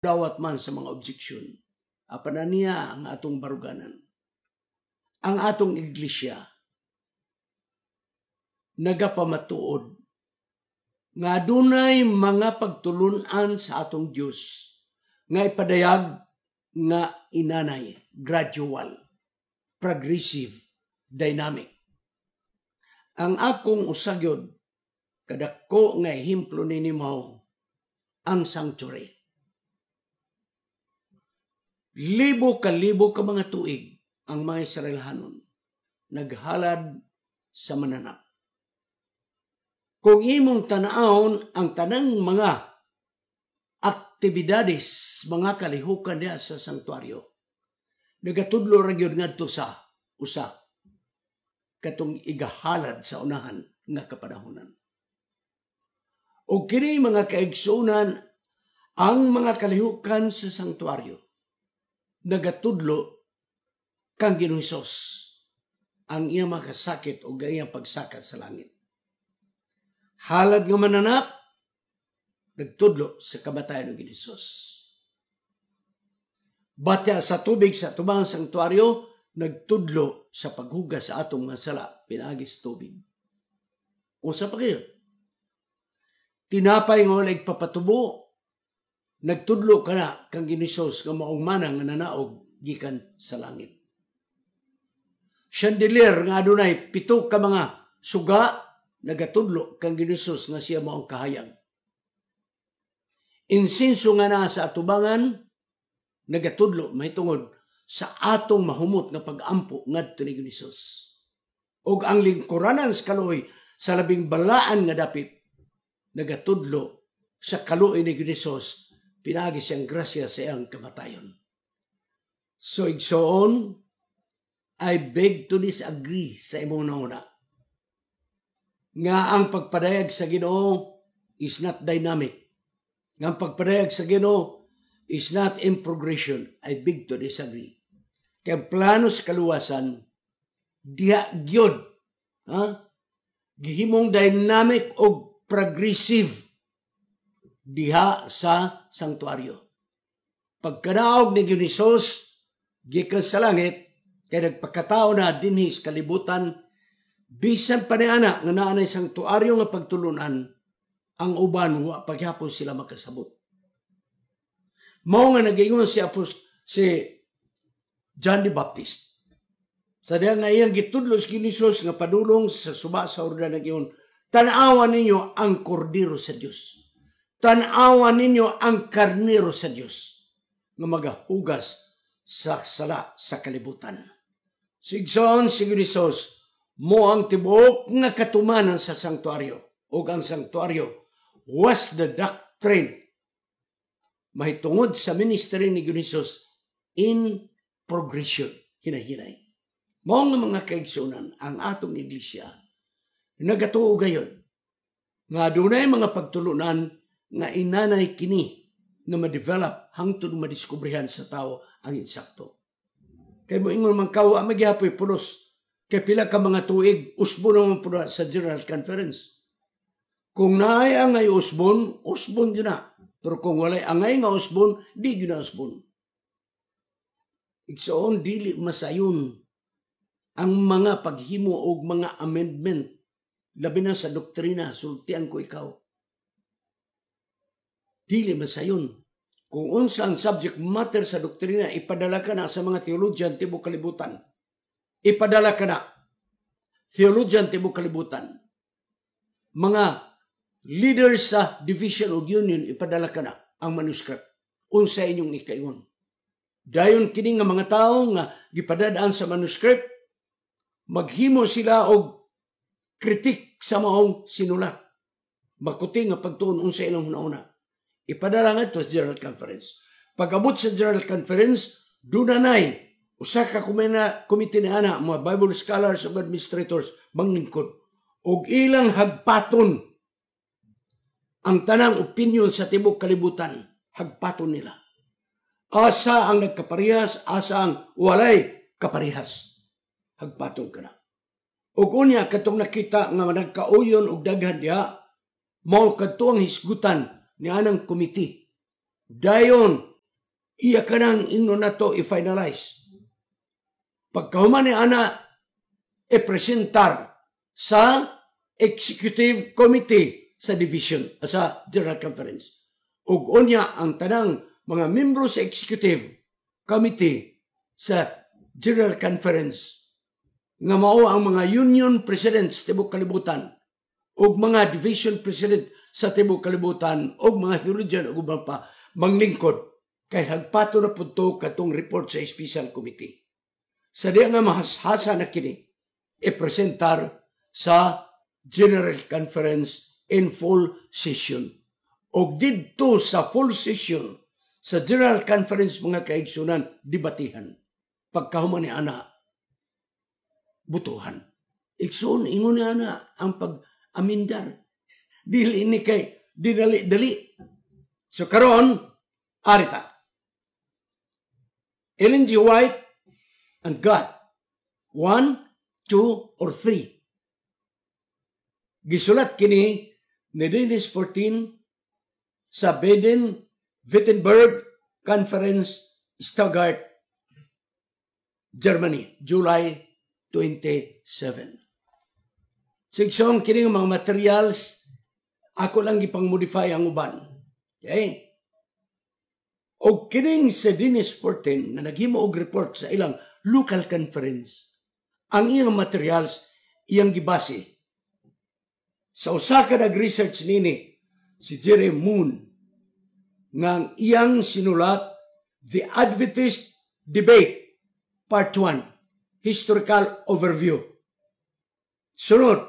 Dawat man sa mga objection. Apan niya ang atong baruganan. Ang atong iglesia nagapamatuod nga adunay mga pagtulunan sa atong Dios nga ipadayag nga inanay, gradual, progressive, dynamic. Ang akong usagyod kadako nga ehemplo nini mao ang sanctuary. Libo ka libo ka mga tuig ang mga Israelhanon naghalad sa mananap. Kung imong tanawon ang tanang mga aktibidades, mga kalihukan diha sa sanktuaryo, nagatudlo ra gyud ngadto sa usa katong igahalad sa unahan nga kapanahonan. O kini, mga kaigsuonan, ang mga kalihukan sa sanktuaryo nagatudlo kang Ginoong Hesus, ang iyang makasakit o iyang pagsaka sa langit. Halad nga mananap nagtudlo sa kamatayon ng Ginoong Hesus. Batya sa tubig sa tubang sanktuaryo nagtudlo sa paghugas sa atong mga sala pinaagi sa tubig. Unsa pa kayo? Tinapay nga walay papatubo nagtudlo kana kang Ginoong Hesus nga maong manang nga nanaog gikan sa langit. Chandelier nga adunay pito ka mga suga nagatudlo kang Ginoong Hesus nga siya maong kahayag. Insinso nga naa sa atubangan nagatudlo mahitungod sa atong mahumot nga pag-ampo ngadto ni Ginoong Hesus. Ug ang lingkuranan sa kaluoy sa labing balaan nga dapit nagatudlo sa kaluoy ni Ginoong Hesus pinaagi siyang grasya sa iyang kamatayon. So igsoon, I beg to disagree sa imong nauna nga ang pagpadayag sa Ginoo is not dynamic. Nga ang pagpadayag sa Ginoo is not in progression. I beg to disagree. Kay ang plano sa kaluwasan diha gyud, ha? Gihimong dynamic og progressive diha sa sanktuaryo. Pagkanaog ni Ginoong Hesus gikan sa langit, kay nagpakatao na dinhi sa kalibutan, bisan pa ni ana nga naa nay sanktuaryo nga pagtulunan, ang uban wa paghapon sila makasabot. Mao nga nagaingon si John the Baptist. Sa diha nga iyang gitudlo si Ginoong Hesus nga padulong sa suba sa Jordan, nag-ingon, "Tan-awan ninyo ang kordero sa Dios. Tan-awan ninyo ang karnero sa Dios nga magahugas sa sala sa kalibutan." Igsoon, si Ginoong Hesus mao ang tibuok nga katumanan sa sanktuaryo, ug ang sanktuaryo was the doctrine mahitungod sa ministry ni Ginoong Hesus in progression, hinahinay. Mao nga, mga kaigsunan, ang atong iglesia nagatuo gayon nga adunay mga pagtulunan nga inanay kini nga ma-develop hangtod madiskubrihan sa tao ang insakto. Kay moingon man ka, wa magyapoy pulos. Kay pila ka mga tuig, usbon naman po sa General Conference. Kung naay angay usbon, usbon gyud na. Pero kung walay angay nga usbon, di gyud na usbon. Igsoon, dili masayon ang mga paghimo og mga amendment, labi na sa doktrina, sultian ko ikaw. Dili masayon. Kung unsa ang subject matter sa doktrina, ipadala ka na sa mga theologian tibok kalibutan. Ipadala ka na. Theologian tibok kalibutan. Mga leaders sa division of union, ipadala ka na ang manuscript. Unsa inyong ikaingon? Dayon kini nga mga tao nga gipadadaan sa manuscript, maghimo sila og kritik sa maong sinulat. Makuti nga pagtuon unsa ilang hunahuna. Ipadala nga sa General Conference. Pag-abot sa General Conference, dunanay usa ka komite ni ana, mga Bible scholars ug administrators manglingkod og ilang hagpaton ang tanang opinion sa tibok kalibutan, hagpaton nila. Asa ang nagkaparehas, asa ang walay kaparehas. Hagpaton ka na. Ug unya katong nakita nga nagkauyon og daghan diha, mao kadto ang hisgutan ni anang komite. Dayon Iya kanang ingno nato i-finalize. Pagkahuman ni ana, i-presentar sa Executive Committee sa division, sa General Conference. Ug unya ang tanang mga membro sa Executive Committee sa General Conference nga mao ang mga union presidents tibok kalibutan ug mga division president sa tibok kalibutan ug mga theologian ug uban pa manglingkod kay hagpato na pud to katong report sa special committee. Sa diya nga mahashasa na kini, ipresentar sa General Conference in full session. Og didto sa full session sa General Conference, mga kaigsunan, debatihan. Pagkahuman ni ana, butuhan. Igsoon, ingon ni ana ang pag-amindar. Dili ni kay dinali-dali. So karon, arita. Ellen G. White and God. One, two, or three. Gisulat kini ni Dennis 14 sa Baden-Württemberg Conference, Stuttgart, Germany, July 27. Sigsoon, kini mga materials ako lang gipang-modify ang uban. Okay? Og kining sa Dennis 14 na naghimo og report sa ilang local conference, ang iyang materials iyang gibase sa usa ka nag-research nini, si Jerry Moon, nga ang iyang sinulat, The Adventist Debate Part 1, Historical Overview. Sunod,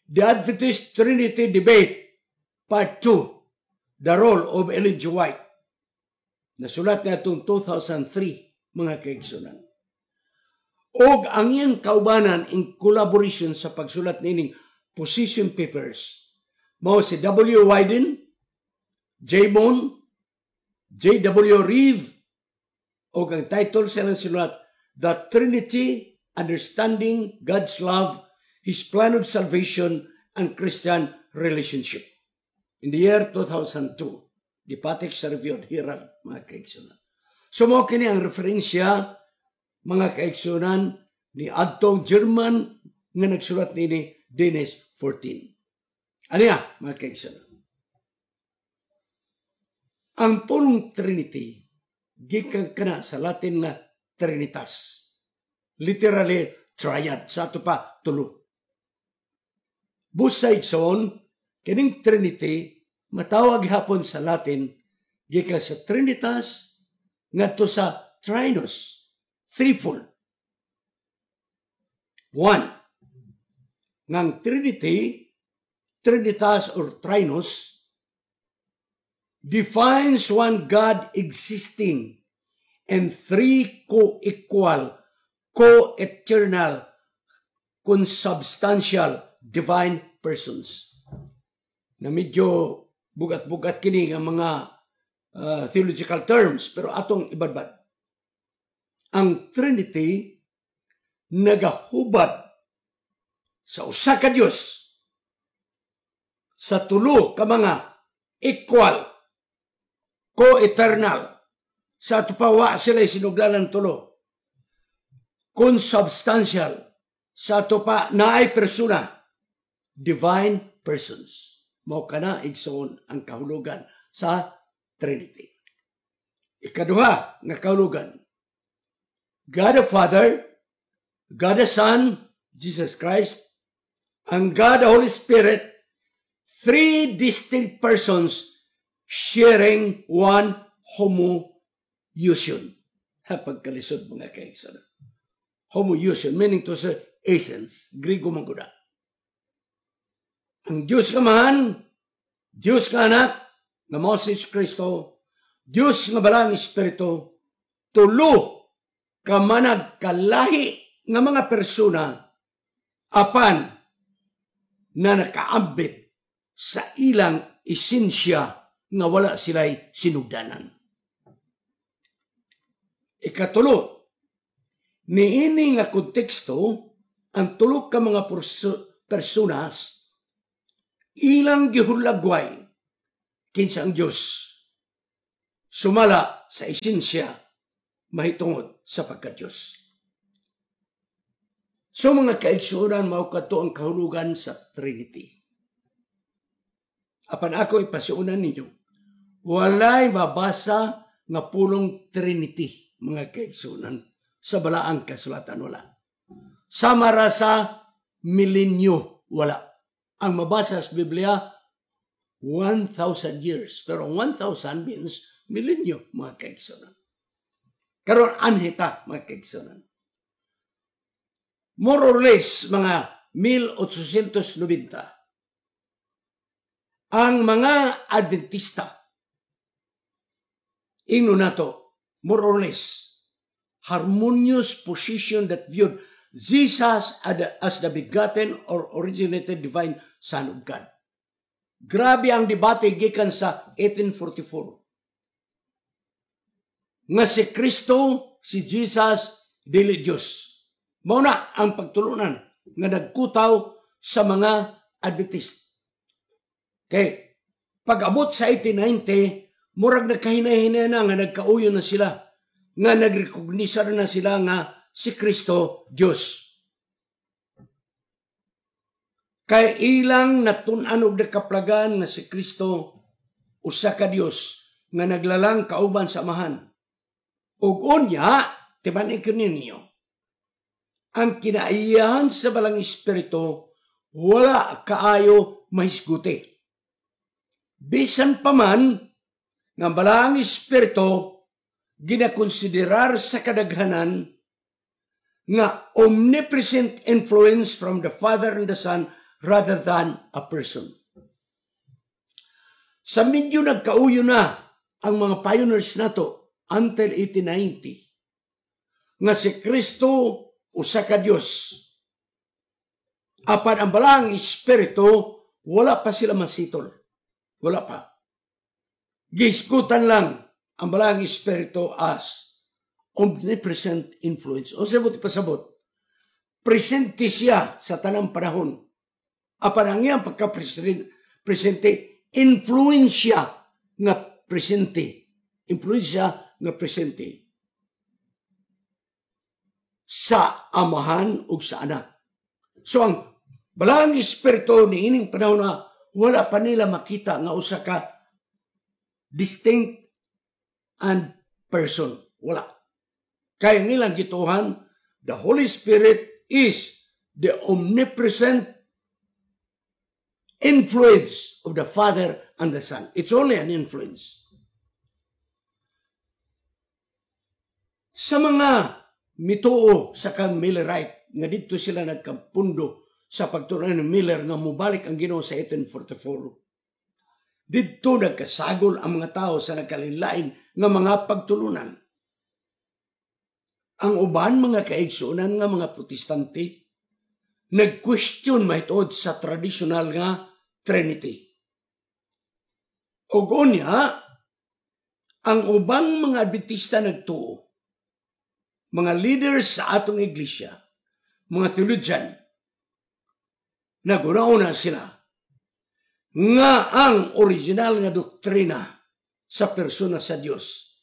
The Adventist Trinity Debate Part 2, The Role of Ellen G. White. Nasulat niya itong 2003, mga kaigsunan. Og ang iyang kaubanan in collaboration sa pagsulat nining position papers mao si W. Wyden, J. Moon, J.W. Reeve, og ang title sa ilang sinulat, The Trinity, Understanding God's Love, His Plan of Salvation, and Christian Relationship. In the year 2002, gipatik sa Review Herald, mga kaigsunan. So mao kini ang referensya, mga kaigsunan, ni adtong German nga nagsulat nini, Dennis 14. Ano ya, mga kaigsunan? Ang pulong Trinity, gikan kana sa Latin nga Trinitas. Literally, triad. Sa ato pa, tulo. Busa, igsoon, kining Trinity, matawag hapon sa Latin, gikan sa Trinitas, ngadto sa Trinus, threefold. One, ngang Trinity, Trinitas or Trinus, defines one God existing and three co-equal, co-eternal, consubstantial divine persons. Na medyo bugat-bugat kini nga mga theological terms, pero atong ibadbad. Ang Trinity nagahubad sa usa ka Dios sa tulo ka mga equal, co-eternal, sa ato pa wa sila sinuglanan tulo, consubstantial, sa ato pa naay persona, divine persons. Mao kana, igsoon, ang kahulugan sa Trinity. Ikaduha nga kahulugan, God the Father, God the Son, Jesus Christ, and God the Holy Spirit, three distinct persons sharing one homoousion. Pagkalisod, mga kaigsoon. Homoousion, meaning to say essence, Grigo man gud. Ang Diyos Amahan, Diyos nga Anak, nga mao si Kristo, Diyos nga Balang Espiritu, tulo ka managkalahi nga mga persona apan na nakaambit sa ilang esensya nga wala sila'y sinugdanan. Ikatulo, niini nga konteksto, ang tulo ka mga personas ilang gihulagway kinsa ang Dios. Sumala sa esensya mahitungod sa pagka-Diyos. So, mga kaigsuonan, mao kadto ang kahulugan sa Trinity. Apan ako ipasuonan ninyo, walay mabasa nga pulong Trinity, mga kaigsuonan, sa Balaang Kasulatan, wala. Sama ra sa milenyo, wala. Ang mabasa sa Biblia, 1,000 years. Pero 1,000 means milenyo, mga kaigsuonan. Karon anhi ta, mga kaigsuonan. More or less, mga 1890, ang mga Adventista, ingno nato, more or less, harmonious position that viewed Jesus as the begotten or originated divine Son of God. Grabe ang debate gikan sa 1844. Nga si Kristo, si Jesus, dili Diyos. Mao na ang pagtulunan nga nagkutaw sa mga Adventist. Kay pag-abot sa 1890, murag nagkahinay-hinay na nga nagkauyo na sila, nga nagrekognisa na sila nga si Kristo Diyos. Kay ilang natun-an og nakaplagan nga si Kristo usa ka Dios nga naglalang kauban sa Amahan. Ug unya, timan-i ninyo, ang kinaiyahan sa Balaang Espiritu wala kaayo mahisguti. Bisan pa man nga Balaang Espiritu ginakonsiderar sa kadaghanan nga omnipresent influence from the Father and the Son rather than a person. Sa medyo nagkauyo na ang mga pioneers nato until 1890 nga si Kristo usa ka Dios. Apan ang Balaang Espiritu, wala pa sila masitol. Wala pa. Gihisgutan lang ang Balaang Espiritu as omnipresent influence. O sa pasabot, presente siya sa tanang panahon. Apan ang iyang pagka-presente, influensya nga presente. Influensya nga presente sa Amahan ug sa Anak. So ang Balaang Espiritu ni ining panahon na wala pa nila makita nga usa ka distinct and person. Wala. Kaya nilang gituhan, the Holy Spirit is the omnipresent influence of the Father and the Son. It's only an influence. Sa mga mituo sa kang Millerite, nga didto sila nagkampundo sa pagtunan ni Miller nga mubalik ang Ginoo sa 1844. Didto nagkasagol ang mga tao sa nagkalinlain nga mga pagtulunan. Ang uban mga kaigsuonan nga mga Protestante nag-question mahitungod sa traditional nga Trinity. Ug unya, ang ubang mga Adventista nagtuo, mga leaders sa atong iglesia, mga theologian, naguna-una sila nga ang original nga doktrina sa persona sa Dios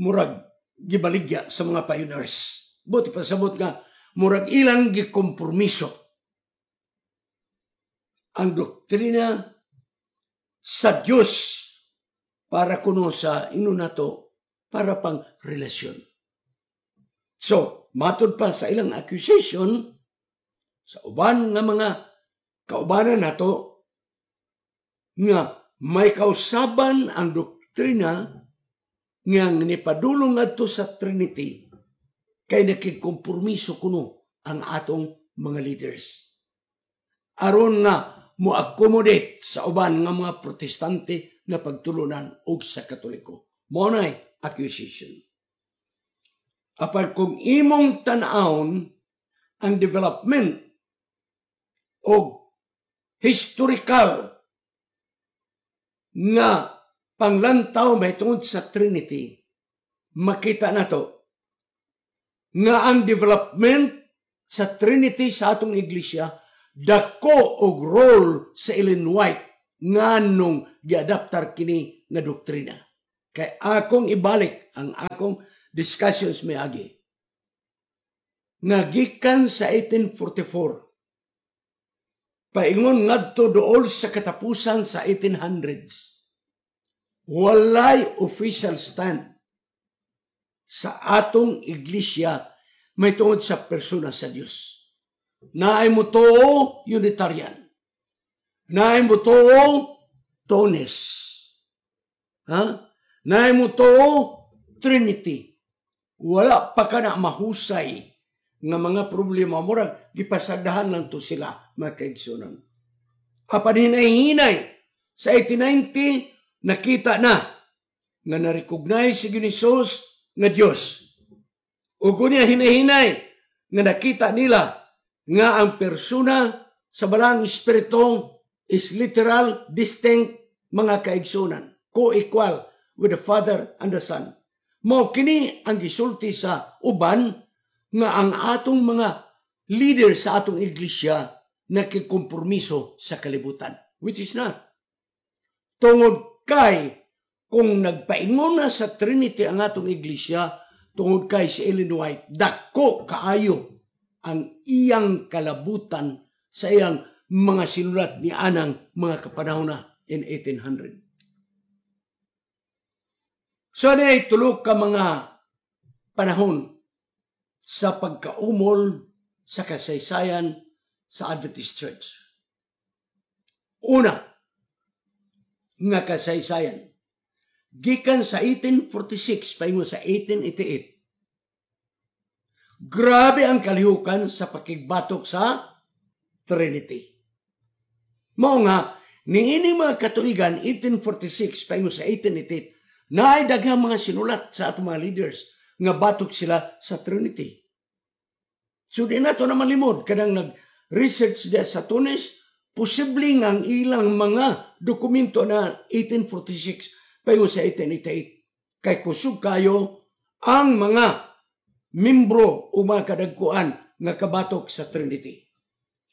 murag gibaligya sa mga pioneers. Buti pasabot nga murag ilang gikompromiso ang doktrina sa Dios para kuno sa ino nato para pang relasyon. So, matod pa sa ilang accusation sa uban nga mga kaubanan nato nga may kausaban ang doktrina nga nipadulong ngadto sa Trinity kay nakigkompromiso kuno ang atong mga leaders. Aron nga mo-accommodate sa uban nga mga Protestante na pagtulunan og sa Katoliko. Mao nay accusation. Apan kung imong tan-awon ang development og historical nga panglantaw mahitungod sa Trinity, makita nato nga ang development sa Trinity sa atong iglesia dako og role sa Ellen White nganong giadaptar kini nga doktrina. Kay akong ibalik ang akong discussions miagi. Nga gikan sa 1844, paingon ngadto dool sa katapusan sa 1800s, walay official stand sa atong iglesia may tungod sa persona sa Dios. Naay mutuo Unitarian. Naay mutuo Twoness. Ha? Naay mutuo Trinity. Wala pa kana mahusay nga mga problema, murag gipasagdahan lang to sila, mga kaigsunan. Apan hinay-hinay sa 1890 nakita na nga na-recognize si Jesus nga Dios. Ug niya hinay-hinay nga nakita nila nga ang persona sa Balaang Espiritu is literal, distinct, mga kaigsunan, co-equal with the Father and the Son. Mao kini ang gisulti sa uban nga ang atong mga leader sa atong iglesia nakikompromiso sa kalibutan, which is not. Tungod kay kung nagpaingon na sa Trinity ang atong iglesia, tungod kay si Ellen White, dako kaayo ang iyang kalabutan sa iyang mga sinulat ni anang mga kapanahon na in 1800. So ano ay tulo ka mga panahon sa pagkaumol sa kasaysayan sa Adventist Church. Una, nga kasaysayan, gikan sa 1846 paingon sa 1888, grabe ang kalihukan sa pakigbatok sa Trinity. Mao nga, niining mga katuigan, 1846 paingon sa 1888, naay daghang mga sinulat sa atong mga leaders nga batok sila sa Trinity. So di na to na malimod kanang nag-research diya sa Tunis, posible nga ang ilang mga dokumento na 1846 paingon sa 1888 kay kusog kayo ang mga membro o mga kadagkuan nga kabatok sa Trinity.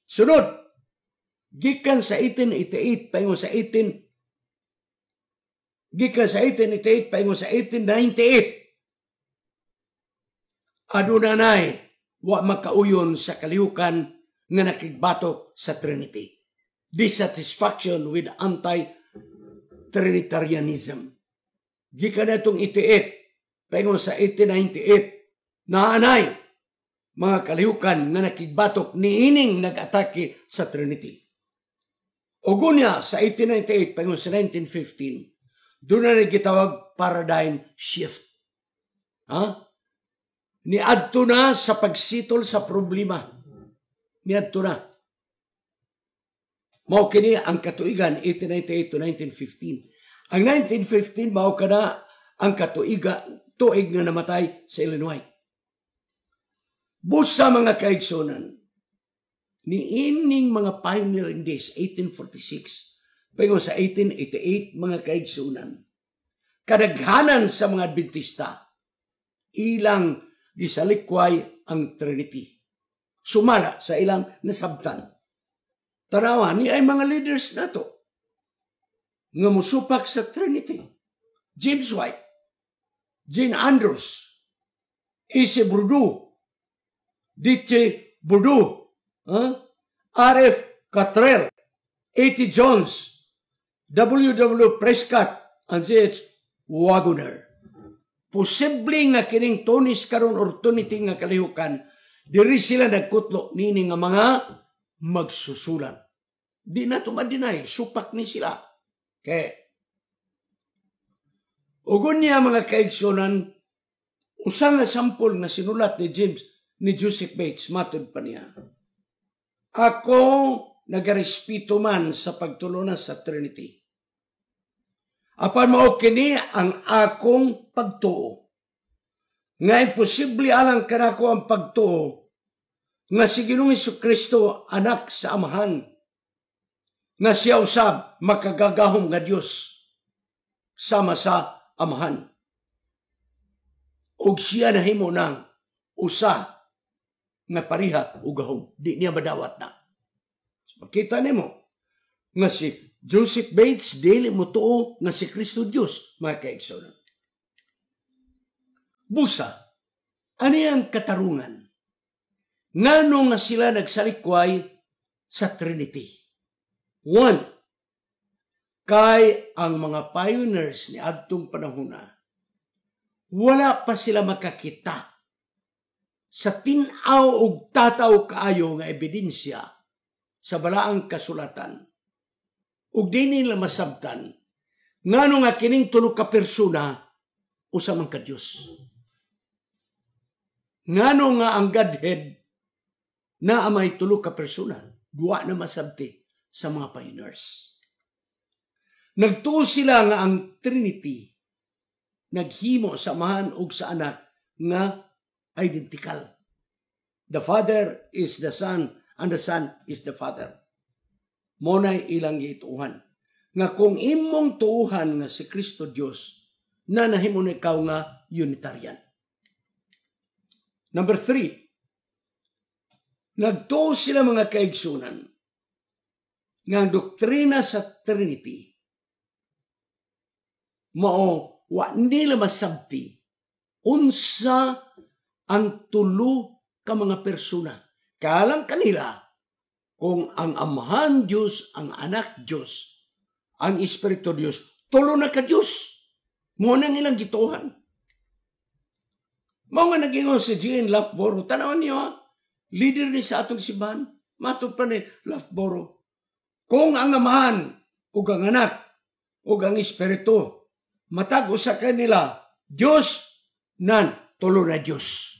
Sunod, gikan sa 1888 paingon sa 18 gikan sa 1888 paingon sa 1898, aduna nay wa makauyon sa kalihukan nga nakigbatok sa Trinity. Dissatisfaction with anti-Trinitarianism. Gikan na itong 88 paingon sa 1898, naanay mga kalihukan nga nakigbatok niining nag-atake sa Trinity. Ugunya sa 1898 paingon sa 1915, doon na gitawag paradigm shift. Ha? Niadto na sa pagsitol sa problema. Niadto na. Mao kini ang katuigan 1898 to 1915. Ang 1915 mao kana ang katuiga tuig nga namatay sa Ellen White. Busa, mga kaigsunan, niining mga pioneering days 1846 paingon sa 1888, mga kaigsunan, kadaghanan sa mga Adventista ilang gisalikway ang Trinity. Sumala sa ilang nasabtan. Tanawa ni ay mga leaders nato nga musupak sa Trinity. James White, Jane Andrews, E.C. Bourdeau, D.T. Bourdeau, huh? R.F. Cottrell, A.T. Jones, W.W. Prescott, and C.H. Waggoner. Posible nga kining Twoness karon or Trinity nga kalihukan, diri sila nagkutlo nini nga mga magsusulat. Di na to ma-deny, supak ni sila. Kay ugon niya, mga kaigsunan, usa nga sampol nga sinulat ni James, ni Joseph Bates, matod pa niya. Ako nagarespeto man sa pagtulunan sa Trinity. Apan mao kini ang akong pagtuo. Nga imposible alang kanako ang pagtuo nga si Ginoong Kristo anak sa Amahan, nga siya usab makagagahom nga Dios sama sa Amahan. Og siya nahimo ng usa nga pareha og gahom. Di niya madawat na. So, makita nimo nga si Joseph Bates dili mo tuo nga si Kristo Dios, mga kaigsunan. Busa, ano ang katarungan? Ngano nga sila nagsalikway sa Trinity? One, kay ang mga pioneers ni adtong panahona, wala pa sila makakita sa tin-aw og tataw kaayo nga ebidensya sa balaang kasulatan. Ug di nila masabtan ngano nga kining tulo ka persona usa man ka Dios. Ngano nga ang Godhead na may tulo ka persona, duwa na masabti sa mga pioneers. Nagtuo sila nga ang Trinity naghimo sa Amahan ug sa Anak nga identical. The Father is the Son and the Son is the Father. Mao nay ilang gituohan. Nga kung imong tuuhan nga si Kristo Dios, na nahimo na ikaw nga Unitarian. Number 3, nagtuo sila, mga kaigsunan, nga ang doktrina sa Trinity mao wa nila masabti unsa ang tulo ka mga persona. Kalang kanila kung ang Amahan Dios, ang Anak Dios, ang Espiritu Dios, tulo na ka Dios. Mao nang ilang gituohan. Mao nga nagingon si G.N. Loughborough, tanawan niyo ha, leader ni sa atong simbahan, matod pa ni Loughborough. Kung ang Amahan ug ang Anak ug ang Espiritu matag usa kanila Dios, nan tulo na Dios.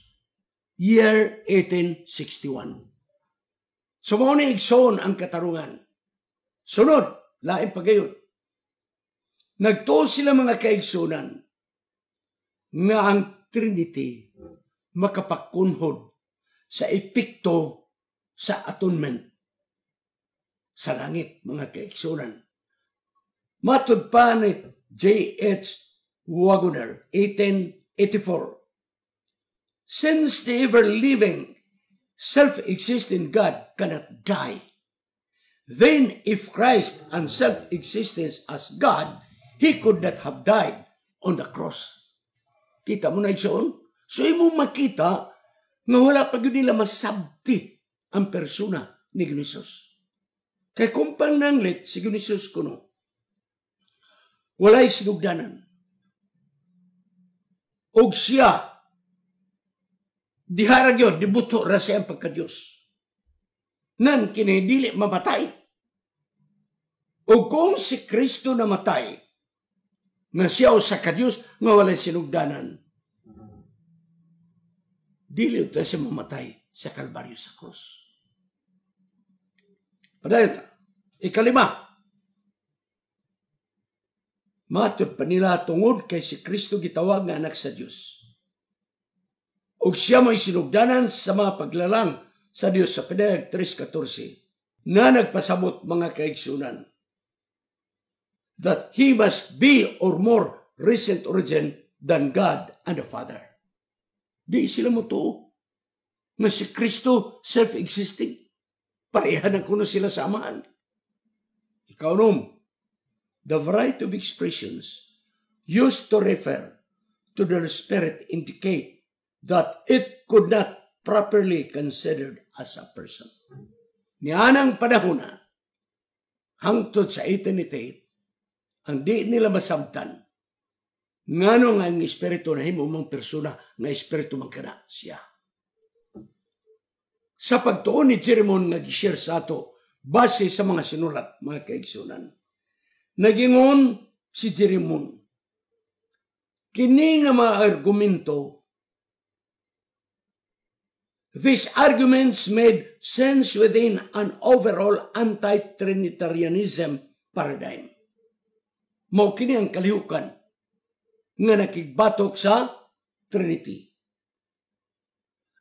Year 1861. So mao ni, igsoon, ang katarungan. Sunod, lain pa gayud. Nagtuo sila, mga kaigsunan, nga ang Trinity makapakunhod sa epekto sa atonement sa langit, mga kaigsunan. Matud pa ni J.H. Waggoner, 1884, "Since the ever-living, self-existing God cannot die, then if Christ and self-existence as God, He could not have died on the cross." Kita mo na, igsoon? So imo makita nga wala pa gyud nila masabti ang persona ni Jesus. Kay kung pananglit si Jesus kuno, walay sinugdanan. Og siya, dihara gyud, dibuto ra siya ang pagka-Diyos. Nan kini dili mamatay. O kung si Kristo namatay, nga siya usa ka Dios nga walay sinugdanan, dili ta siya mamatay sa Kalbaryo, sa krus. Padayon ta. Ikalima, matod pa nila, tungod kay si Kristo gitawag nga anak sa Dios, ug siya may sinugdanan sa mga paglalang sa Dios sa Pinayag 3.14 na nagpasabot, mga kaigsunan, that He must be or more recent origin than God and the Father. Di sila mo tuo nga si Kristo self-existing. Pareha na kuno sila sa Amahan. Ikaunom, the variety of expressions used to refer to the Spirit indicate that it could not properly considered as a person. Nianang panahon na, hangtod sa 1888, ang di nila masabtan, ngano nga ang Espiritu na himo mong persona, nga Espiritu man kana siya. Sa pagtuon ni Jeremon nga gishare sa ato, base sa mga sinulat, mga kaigsunan, nagingon si Jeremon, kini nga mga argumento. These arguments made sense within an overall anti-Trinitarianism paradigm. Mao kini ang kalihukan nga nakigbatok sa Trinity.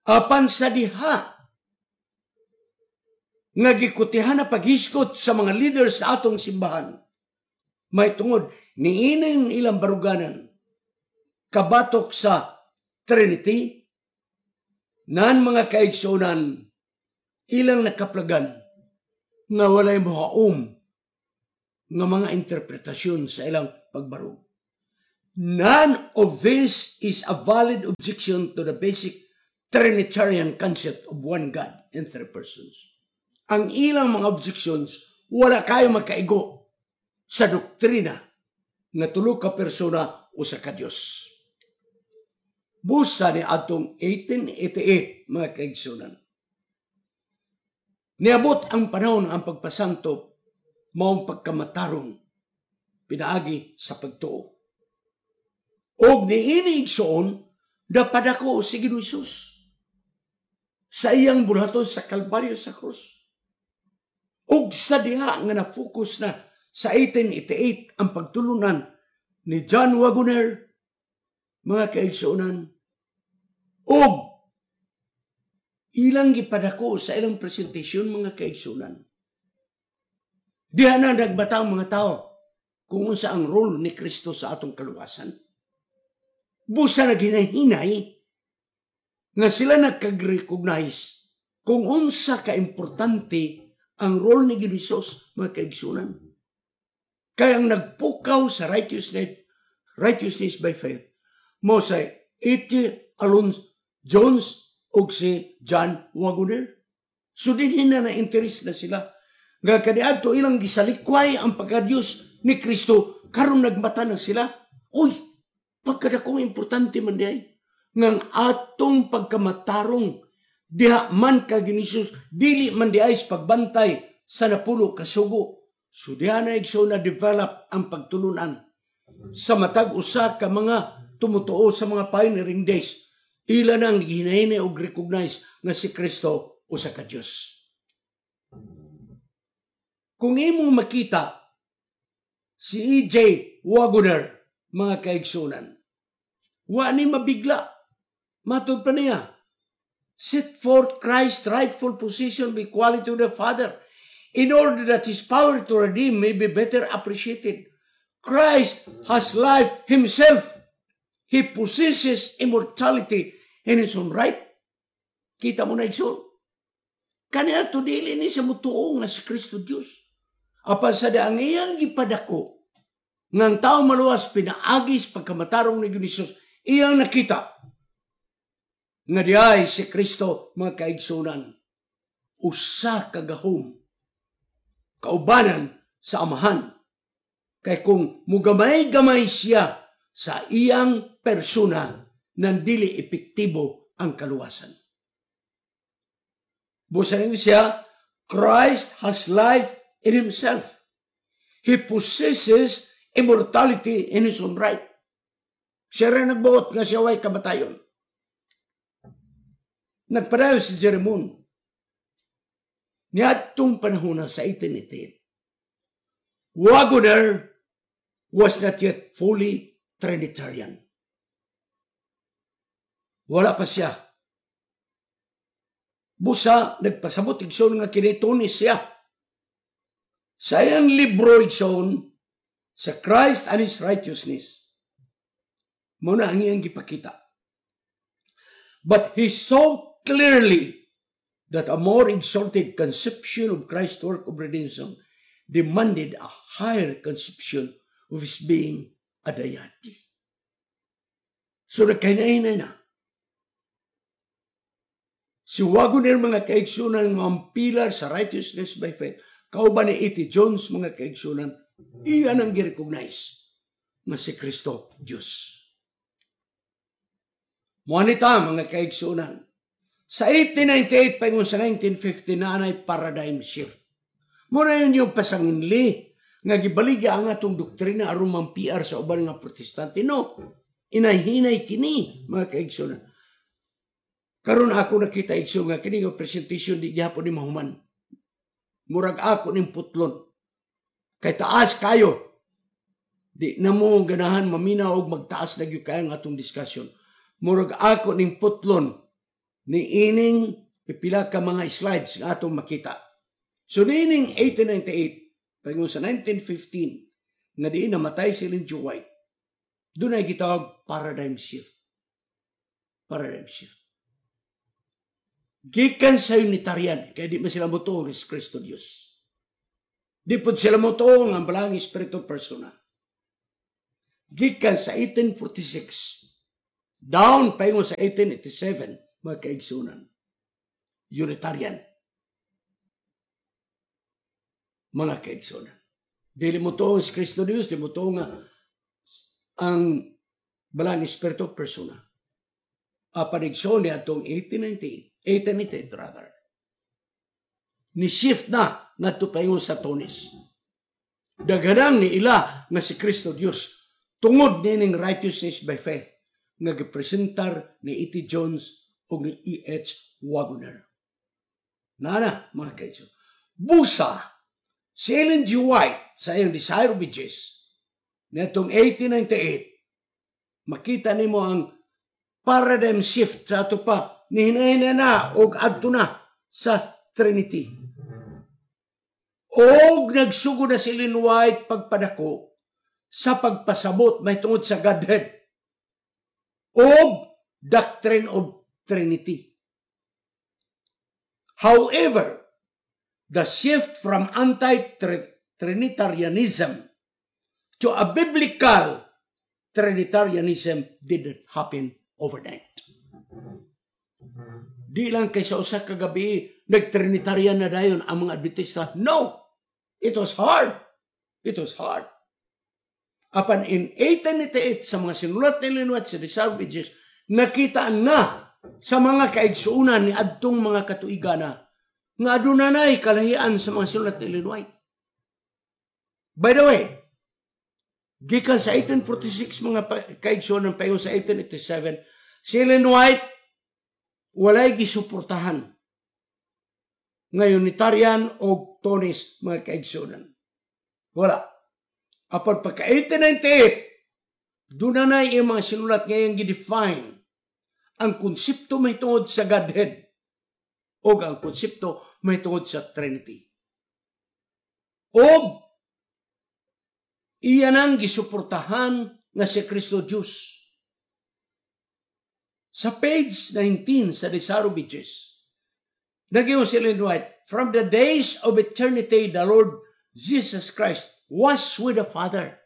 Apan sa diha nga gikutihan na paghisgot sa mga leaders sa atong simbahan, may tungod niining ilang baruganan kabatok sa Trinity, nan, mga kaigsunan, ilang nakaplagan nga walay mohaom nga mga interpretasyon sa ilang pagbarug. None of this is a valid objection to the basic Trinitarian concept of one God in three persons. Ang ilang mga objections, wala kayo makaigo sa doktrina nga tulo ka persona, usa ka Dios. Busa ni atong 1888, mga kaigsunan. Niabot ang panahon ang pagpasanto maong pagkamatarong pinaagi sa pagtuo. Og niini, igsoon, napadako si Ginoong Hesus sa iyang buhaton sa Kalbaryo, sa krus. Ug sa diha nga na-focus na sa 1888 ang pagtulunan ni John Waggoner, mga kaigsuonan, ug ilang gipadako sa ilang presentation, mga kaigsuonan. Diha na nagbata ang mga tao kung unsa ang role ni Kristo sa atong kaluwasan. Busa na ginahinay nga sila nagkag-recognize kung unsa ka-importante ang role ni Jesus, mga kaigsunan. Kaya ang nagpukaw sa righteousness by faith mao sa E.T. Alonzo Jones ug si John Waggoner. So dinhi na na-interest na sila. Nga kaniadto ilang gisalikway ang pagka-Diyos ni Kristo, karon nagmata na sila. Uy, pagkadakong importante man diay ngang atong pagkamatarong diha man kag Jesus, dili man diay sa pagbantay sa napulo kasugo. So diha na, igsoon, na develop ang pagtulunan sa matag usa ka mga tumutuo sa mga pioneering days. Ila nang gihinahinay og recognize nga si Kristo usa ka Dios. Kung imong makita si E.J. Waggoner, mga kaigsunan, wa ni mabigla. Matod pa niya, set forth Christ's rightful position of equality with the Father in order that His power to redeem may be better appreciated. Christ has life Himself. He possesses immortality in His own right. Kita mo na, igsoon. Kaniya to dili ni siya mutuo nga si Kristo Diyos. Apan sa ang iyang gipadako nga ang tao maluwas pinaagi sa pagkamatarong ni Jesus, iyang nakita nga diay si Kristo, mga kaigsunan, usa ka gahom kaubanan sa Amahan. Kay kung mugamay-gamay siya sa iyang persona, nandili epektibo ang kaluwasan. Busa siya, Christ has life in Himself. He possesses immortality in His own right. Siya rin nagbuot nga siya way kamatayon. Nagpadayon si Jerry Moon. Niadtong panahon na sa 1888, Waggoner was not yet fully Trinitarian. Wala pa siya. Busa, nagpasabot, igsoon, nga kinitunis siya. Sa iyang libro, igsoon, sa Christ and His Righteousness, muna ang iyang gipakita. But he saw clearly that a more exalted conception of Christ's work of redemption demanded a higher conception of His being a deity. So nagkahinay na si Waggoner, mga kaigsunan, nga ang pillar sa righteousness by faith, kauban ni E.T. Jones, mga kaigsunan, iyan ang gi-recognize nga si Kristo Diyos. Mo ta, mga kaigsunan. Sa 1898 paingon sa 1950 na anay paradigm shift. Muna yun yung pasanginli nga gibaligya ang atong doktrina aron mang PR sa uban nga Protestante. No, inahinay kini, mga kaigsunan. Karon ako nakita, igsoon, nga kini nga presentation di gyapon ni mahuman. Murag ako ning putlon. Kay taas kayo. Di na mo ganahan maminaw og magtaas na gyud kayo ang atong discussion. Murag ako ning putlon ni ining pipila ka mga slides nga atong makita. So niining 1898 paingon sa 1915 nga diin namatay si Ellen G. White, doon ay gitawag paradigm shift. Paradigm shift. Gikan sa Unitarian, kaya di man sila motuo si Kristo Diyos. Di po sila motuo nga ang Balaang Espiritu persona. Gikan sa 1846 down paingon sa 1887, mga kaigsunan. Unitarian. Mga kaigsunan. Dili mo tuo si Kristo Diyos, di mo tuo nga ang Balang Espiritu persona. Apan, igsoon, ni atong 1898, 1898 rather, ni shift na ngadto paingon sa Thonis. Daghanang ni ila nga si Kristo Dios tungod nining righteousness by faith nga gipresentar ni E.T. Jones o ni E.H. Waggoner. Nana, mga kaigsoon. Busa, si Ellen G. White sa iyang Desire of Ages, netong 1898, makita nimo ang paradigm shift sa ato pa, ni hinay na og adto na sa Trinity. Og nagsugod na si Ellen White pagpadako sa pagpasabot may tungod sa Godhead og doctrine of Trinity. However, the shift from anti-Trinitarianism to a biblical Trinitarianism didn't happen overnight. Di lang kay sa usa ka gabi nag-Trinitarian na dayon ang mga Adventista. No! It was hard. It was hard. Apan in 1898, sa mga sinulat ni Ellen White sa Desire of Ages, nakita na sa mga kaigsuunan ni adtong mga katuigana nga aduna nay kalahian sa mga sinulat ni Ellen White. By the way, gikan sa 1846, mga kaigsuonan, paingon sa 1887, si Ellen White walay gisuportahan nga Unitarian o Thonis, mga kaigsuonan. Wala. Apan pagka 1898, doon na na yung mga sinulat ngayon gi-define ang konsepto may tungod sa Godhead o ang konsepto may tungod sa Trinity. O iyan ang gisuportahan nga si Kristo Diyos. Sa page 19 sa Desire of Ages, nag-ingon si Ellen White, "From the days of eternity, the Lord Jesus Christ was with the Father."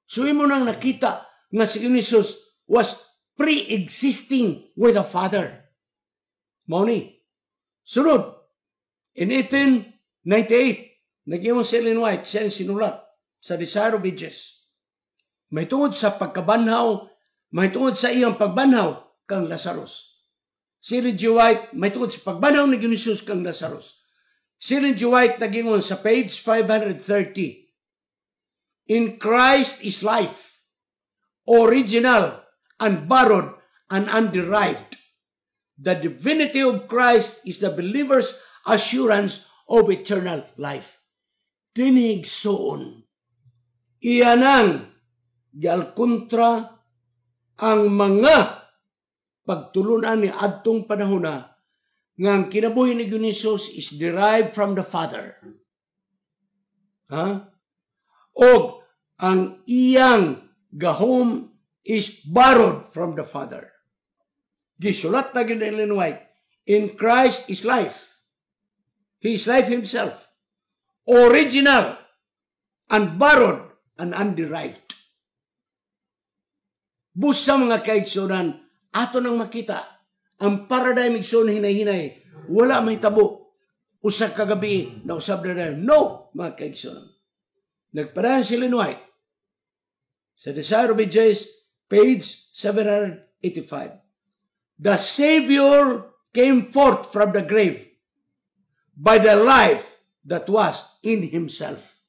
So imo nang nakita nga si Jesus was pre-existing with the Father. Mao ni. Sunod, in 1898, nag-ingon si Ellen White siya sinulat sa Desire of Ages. May tungod sa pagkabanhaw, may tungod sa iyang pagbanhaw kang Lazarus. Si Ellen G. White, may tungod sa pagbanhaw ni Jesus kang Lazarus. Si Ellen G. White nagingon sa page 530, "In Christ is life, original, unborrowed, and underived. The divinity of Christ is the believer's assurance of eternal life." Dinhi, igsoon, iyanang gialkontra ang mga pagtulunan ni adtong panahon na nga ang kinabuhi ni Jesus is derived from the Father. Ha? Og ang iyang gahom is borrowed from the Father. Gisulat na gyud ni Ellen White, "In Christ is life. He is life himself. Original, unborrowed, and underived." Busa, mga kaigsunan, ato nang makita ang paradigm, igsoon, hinay-hinay, wala may tabo. Usa ka gabi na usab na. No, mga kaigsunan. Nagpadayon si Ellen White sa Desire of Ages, page 785. "The Savior came forth from the grave by the life that was in himself."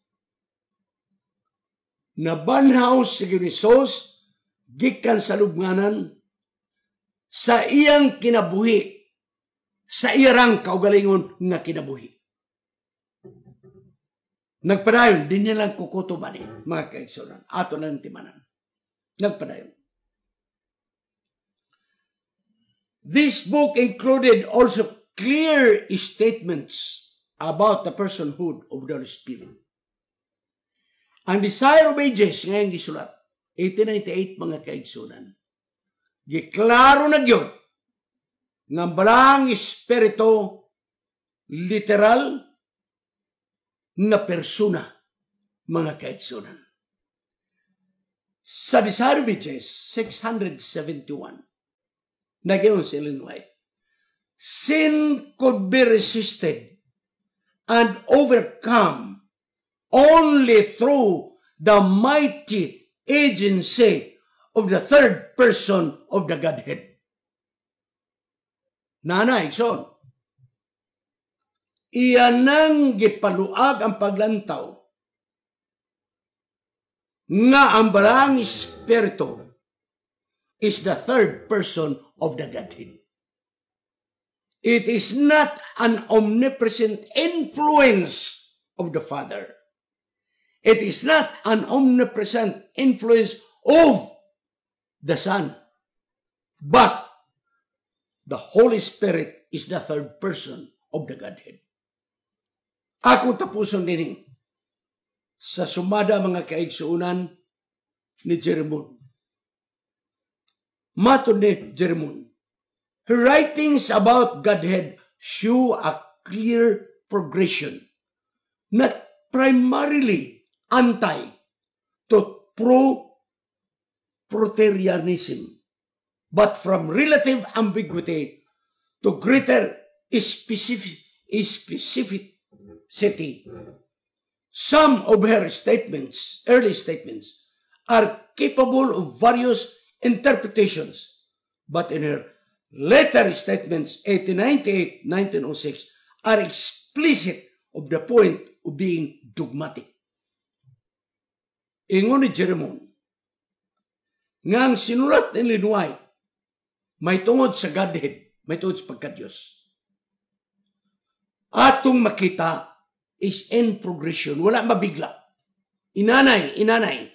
Nabanhaw si Jesus gikan sa lubnganan sa iyang kinabuhi, sa iyang kaugalingon nga kinabuhi. Nagpadayon, di nilang kukutuban ni, mga kaigsunan. Ato lang timanan. Nagpadayon. "This book included also clear statements about the personhood of the Holy Spirit." Ang Desire of Ages ngayon gisulat, 1898, mga kaigsunan. Giklaro na gyud nga Balang Espiritu literal nga persona, mga kaigsunan. Sa Desire of Ages, 671, nag-ingon si Ellen White, "Sin could be resisted and overcome only through the mighty agency of the third person of the Godhead." Nana, igsoon. Iyan nang gipaluag ang paglantaw nga ang Balaang Espiritu is the third person of the Godhead. It is not an omnipresent influence of the Father. It is not an omnipresent influence of the Son. But the Holy Spirit is the third person of the Godhead. Ako tapuson dinhi sa sumada, mga kaigsuunan, ni Jerry Moon. Matod ni Jerry Moon, her writings about Godhead show a clear progression, not primarily anti to pro-Proterianism, but from relative ambiguity to greater specificity. Some of her statements, early statements, are capable of various interpretations, but in her later statements, 1898, 1906, are explicit of the point of being dogmatic. Ingon ni Jerry Moon, nga ang sinulat ni Ellen White may tungod sa Godhead, may tungod sa pagka-Diyos. Atong makita is in progression, wala mabigla. Inanay, inanay.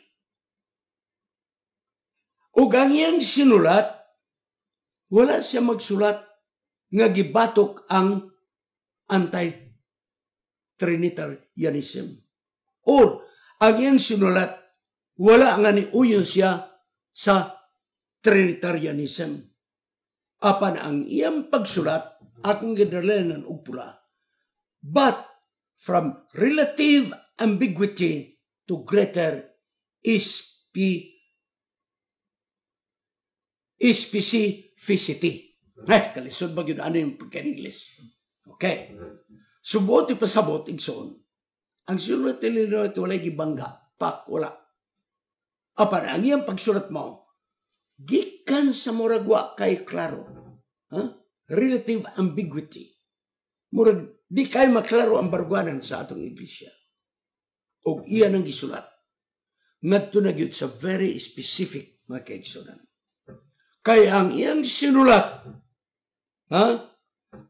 Ug ang iyang sinulat, wala siya magsulat nga gibatok ang anti-Trinitarianism. Or, ang iyang sinulat, wala nga ni uyon siya sa Trinitarianism. Apan ang iyang pagsulat, akong gidalanan og pula, but from relative ambiguity to greater specificity. Eh, kalisod ba yun ano yung pagka-English? Okay. Subot ipasabot, igsoon. Ang sinulat ni Ellen walay gibangga. Pak, wala. Apan, ang iyang pagsulat mo, gikan sa murag wa kay klaro. Huh? Relative ambiguity. Murag, di kay maklaro ang barugwanan sa atong iglesia. Og iya nang gisulat. Ngadto na gyud sa very specific, mga kaigsunan. Kay ang iyang sinulat, ha?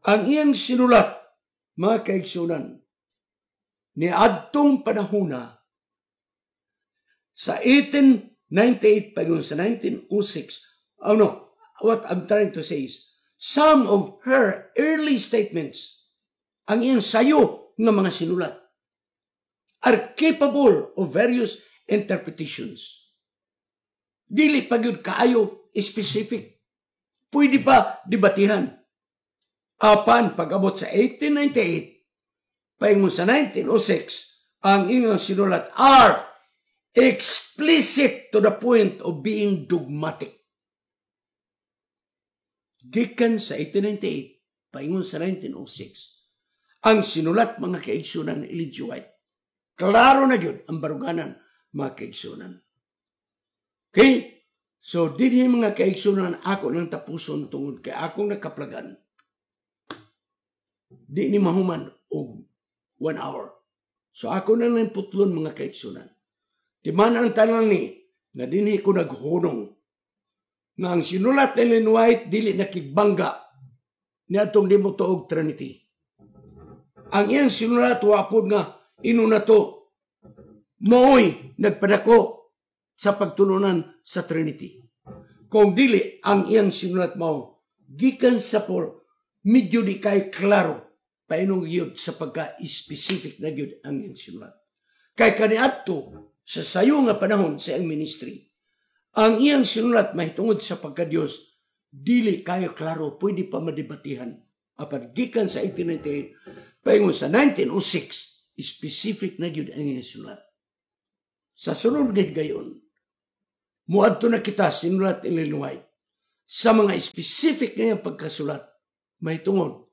Ang iyang sinulat, mga kaigsunan, ni adtong panahona sa 1898 pa sa 1906. Oh no, what I'm trying to say is, some of her early statements, ang iyang sayo nga mga sinulat, are capable of various interpretations. Dili pa gyud kaayo specific. Pwede pa debatihan. Apan pag-abot sa 1898, paingon sa 1906, ang iyang sinulat are explicit to the point of being dogmatic. Gikan sa 1898, paingon sa 1906, ang sinulat, mga kaigsunan, ni Ellen G. White, klaro na yun ang baruganan, mga kaigsunan. Okay? So, dinhi, mga kaigsunan, ako nang tapuson tungod kay akong nakaplagan. Di ni mahuman og 1 hour. So ako na lang putlon, mga kaigsunan. Timan ang tanan ni nga dinhi ko naghunong nga ang sinulat ni Ellen White dili nakigbangga ni atong di mo tuog Trinity. Ang iyang sinulat wa pod nga inuna to maoy nagpadako sa pagtulunan sa Trinity. Kung dili, ang iyang sinulat mao gikan sa por medyo di kay klaro painong gyud sa pagka-specific na gyud ang iyang sinulat. Kay kaniadto sa sayo nga panahon sa iyang ministry, ang iyang sinulat mahitungod sa pagka-Dios dili kayo klaro, pwede pa madebatihan. Apan gikan sa 1898 paingon sa 1906, specific na gyud ang iyang sinulat. Sa sunod nga higayon, Muadto na kita, sinulat ni Ellen White, sa mga specific nga iyang pagkasulat mahitungod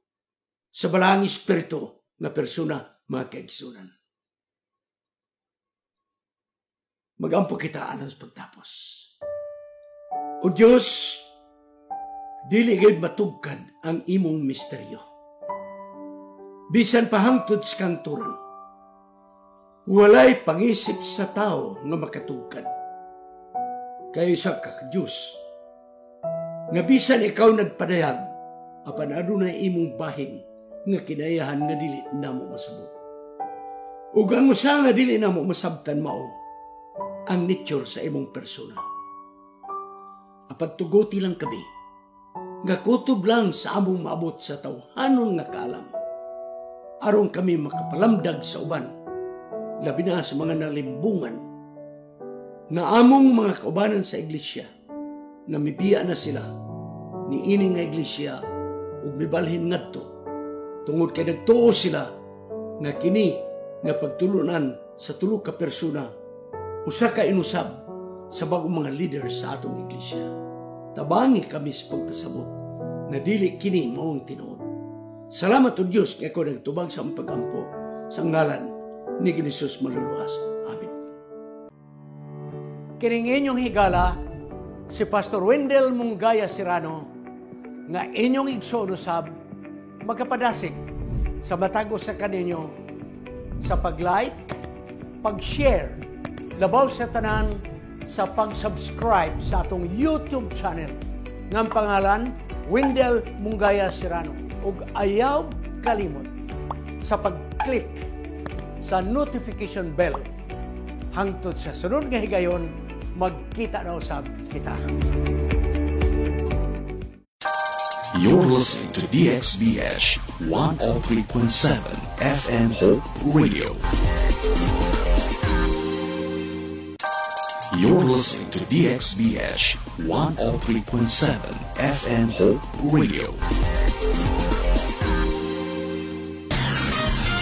sa Balaang Espiritu nga persona, mga kaigsunan. Magampo kita alang sa pagtapos. O Dios, dili gid matugkad ang imong misteryo. Bisan pa hangtod sa kanturan, walay pangisip sa tao nga makatugkad. Kay sa ka Dios, nga bisan ikaw nagpadayag, apan adunay imong bahin nga kinayahan nga dili namo masabot. Ug ang usa nga dili namo masabtan mao ang nature sa imong persona. Apan tuguti lang kami, nga kutob lang sa among maabot sa tawhanon nga kaalam, aron kami makapalamdag sa uban, labi na sa mga nalimbungan, nga among mga kaubanan sa iglesia, nga mibiya na sila ni ini nga iglesia ug mibalhin ngadto, tungod kay nagtuo sila nga kini nga pagtulunan sa tulo ka persona usa ka inusab sa bagong mga leaders sa atong iglesia. Tabangi kami sa pagpasabot nga dili kini mao ang tinuod. Salamat o Dios kay ikaw nagtubag sa among pagampo sa ngalan ni Jesus maluluwas. Amen. Kining inyong higala si Pastor Wendell Mungaya Serrano nga inyong igsoon usab magkapadasig sa matag usa kaninyo sa pag-like, pag-share, labaw sa tanan sa pag-subscribe sa atong YouTube channel nga ang pangalan Wendell Mungaya Serrano, ug ayaw kalimot sa pag-click sa notification bell. Hangtod sa sunod nga higayon, magkita na usab kita. You're listening to DXBH 103.7 FM Hope Radio. You're listening to DXBH 103.7 FM Hope Radio.